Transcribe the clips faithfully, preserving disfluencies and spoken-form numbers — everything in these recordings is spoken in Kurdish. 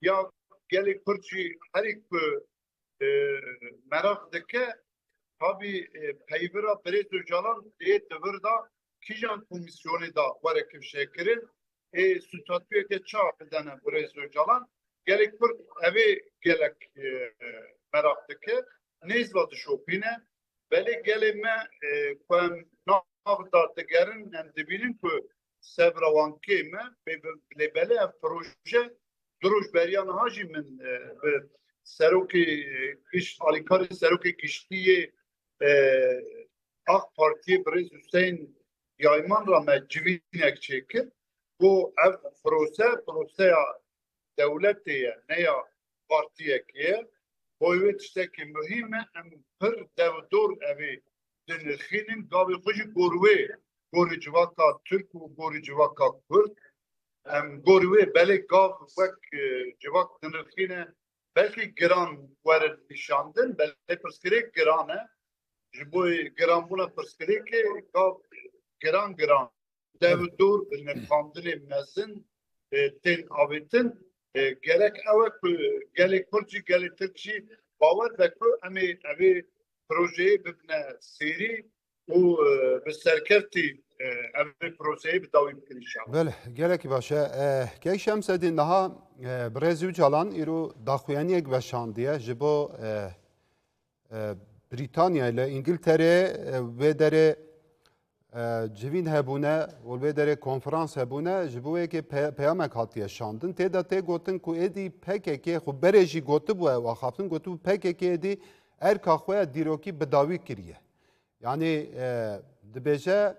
ya gelê Kurd jî herî ku e, meraq dike, tabî, e, peyvira birêz Ocalan lê di vir de kîjan komîsyonê de were kifşekirin, ê statuyeke çawa bidene birêz Ocalan? Gelê Kurd evê gelek, e, meraq dike, nêz ve dişopîne. Belê gelê me, e, ku em nav de digerin, em dibînin ku sebra wan kêm e, bê-, bê-, lê belê ev proje du roj beriya niha jî min, e, bi serokê, e, giş-, alîkarê serokê giştî yê, e, AK Partiyê birêz Hüseyin Yayman re me civînek çêkir. Got ev prose, proseya dewletê ye, ne ya partiyekê ye. Boy wê tiştekî muhîm e, em pir dew dor evê dinirxînin, gavê xwe jî gor wê, gorî civaka Tirk û gorî civaka Kurd. Em gorî wê belê gav wek, e, civak dinirxîne, belkî giran werin nîşandin, belê pirsgirêk giran e. Ji bo giranbûna pirsgirêkê gav giran giran dew dor bi nirxandinê mezin, e, tên avêtin. E, gerek ew e ku gelê Kurd jî, gelê Tirk jî bawer be ku em ê evê projeyê bibine sêrî û, e, bi serkevtî, e, evê projeyê bi dawî bikin înşallah. Belê, gelekî baş e. E, Kek Şemsedîn, niha, e, birêz Ocalan îro daxuyaniyek veşandiye ji bo, e, e, Brîtanyayê li Îngilterê, e, wê derê, e, civîn hebûne û li wê derê konferans hebûne, ji bo yekê pe-, peyamek hatiye şandin. Tê de tê gotin ku êdî P K K xwe berê jî gotibû, ew axaftin gotibû, P K K êdî erka xwe ya dîrokî bi dawî kiriye. Yanî, e, dibêje,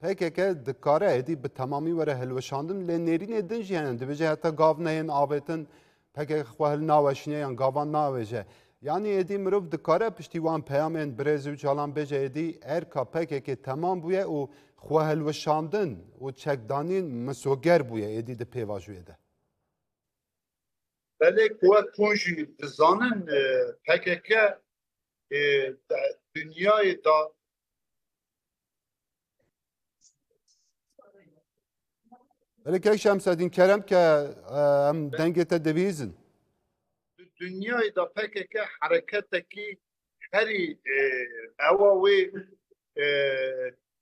P K K dikare êdî bi temamî were hilweşandin, lê nêrînê din jî hene. Dibêje heta gav neyên avêtin, P K K xwe hilnaweşîne yan gavan navêje. Yanî êdî mirov dikare piştî wan peyamên birêz Ocalan bêje êdî erka P K K temam bûye û xwehilweşandin û çekdanîn misoger bûye êdî di pêvajoyê de. Belê ku wek hûn jî dizanin, e, P K K, e, de-, dinyayê da Belê Kek Şemsedîn, kerem ke, e, em dengê te dibihîzin. Di dinyayê de P K K hereketekî herî, e, ewa wê, e,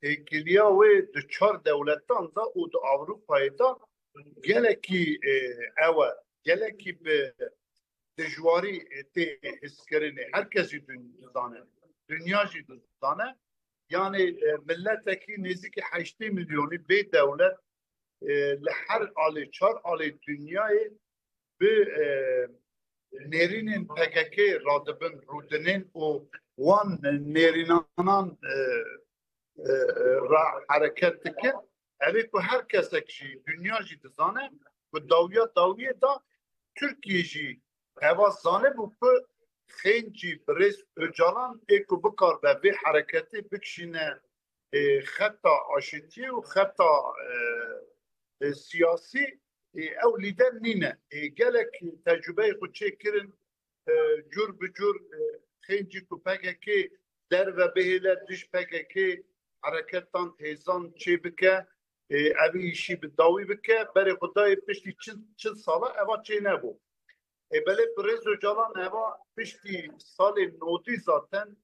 têkiliya wê di çar dewletan de û di Ewropayê de gelekî, e, ew e, gelekî bi dijwarî, e, tê hizkirinê. Her kes jî dun-, dizane. Dinya jî dizane. Yanî, e, miletekî nêzîkî heştê milyonî bê dewlet, e, li her alê, çar alê dinyayê bi, e, nêrînên P K K radibin, rûdinên û wan nêrînanan, e, e, ra hereket dike. Ev ê ku her kesek jî, dinya jî dizane ku dawiya dawiyê de Tirkiye jî eva zanibû ku xêncî birêz Ocalan ê ku bikaribe vê hereketê bikişîne, e, xeta aşitiyê û xeta, e, e, siyasî, e, ew lîder nîne. E, gelek tecrubeyê xwe çêkirin, e, cur bi cur, e, xêncî ku P K K derve bihêle dij P K K hereketan hêzan çêbike, e, ev îşî bi dawî bike, berê xwe dayê piştî çil, çil sala eva çênebû. E, belê birêz Ocalan eva piştî salê nodî zaten,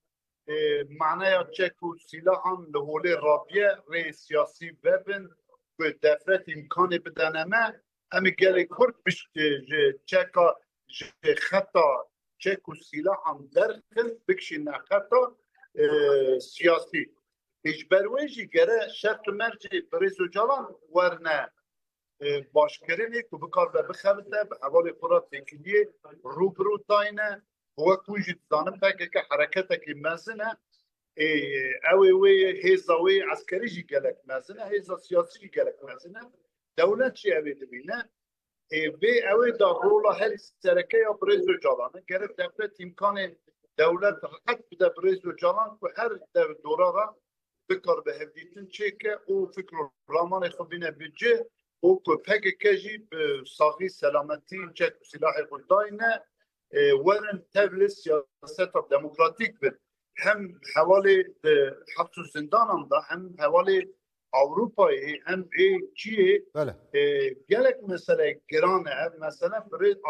e, maneya çek û sîlahan li holê rabiye, rê siyasî vebin, ku defret îmkanê bidene me, em ê gelê Kurd biş-, e, ji çeka, ji xeta çek û sîlahan derxin, bikişîne xeta, e, siyasî. Ê, ji ber wê jî gere şert û mercê birêz Ocalan werne, e, başkirinê ku bikaribe bixebite, bi hevalê xwe re têkiliyê rû bi rû dayne. Wek hûn jî dizanin, P K K hereketekî mezin e. Ê, ew ê wê ye, hêza wê eskerî jî gelek mezin e, hêza siyasî jî gelek mezin e. Dewlet jî ew ê dibîne. Ê, vê ew ê da rola herî sereke ya birêz Ocalan e. Gerek dewlet îmkanê dewlet rehet bide birêz Ocalan ku her dev dora re bikaribe hevdîtin çêke û fikr û ramanê xwe bîne bi cih û ku P K K jî bi saxî selametî çek û silahê xwe dayne, e, werin tevlê siyaseta demokratîk bin. Hem hevalê di heps û zindanan de, hem hevalê Ewropayê, hem ê çiyê, Belê. e, gelek mesele giran e. Ev mesele birêz